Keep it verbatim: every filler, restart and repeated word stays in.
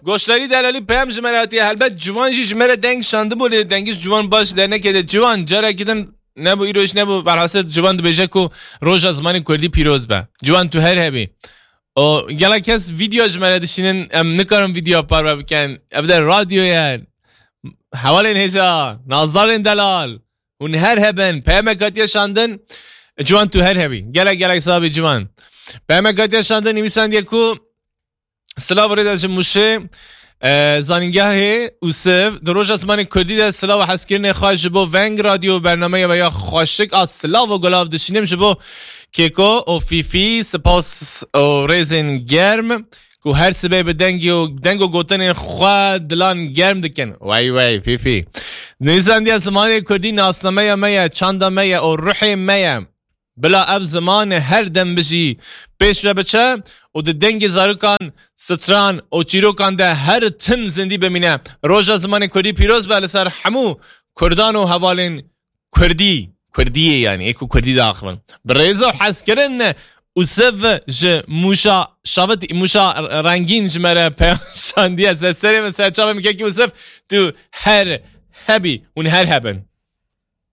Goşdarî delalî peyam ji me re hatiye. Helbet ciwan jî ji me re deng şandibû, lê dengî ji ciwan baş dernekê de. Ciwan, carekî din nebû, îro jî nebû. Berhasil ciwan dibêje ku roja zimanê kurdî pîroz be. Ciwan, tu her hebî. O gelek kes vîdeo ji me re dişînin, em nikarin vîdeo parve bikin. Ev de radyo ye. Hevalên hêja, nazdarên delal. Hûn her hebin, peyamek hatiye şandin. Ciwan, tu her hebî. Gelek gelek sabî ciwan. Peyamek hatiye şandin, nivîsandiye ku silav rêde ji Mûşê, e, zanîngehê Ûsiv, di roja zimanê kurdî de silav û hezkirinê xwe ji bo Veng Radyo û bernameya we ya xweşik a silav û gulav dişînim ji bo Kêko û Fîfî, spas û rêzên germ ku her sibê bi dengê û deng û gotinên xwe dilan germ dikin. Wey wey Fîfî. Nivîsandiya zimanê kurdî nasnameya me ye, çanda me ye û ruhê me ye. Bila ev ziman her dem bijî, pêş ve biçe û di dengê zarokan, stran û çîrokan de her tim zindî bimîne. Roja zimanê kurdî pîroz be li ser hemû kurdan û hevalên kurdî. Kurdiyê, yanî ê ku kurdî diaxivin. Bi rêz û hezkirin Ûsiv ji Mûşa Şavitî, Mûşa Rengîn ji me re peyam şandiye. Ser serê min, ser çavê min kekî Ûsiv, tu her hebî, hûn her hebin.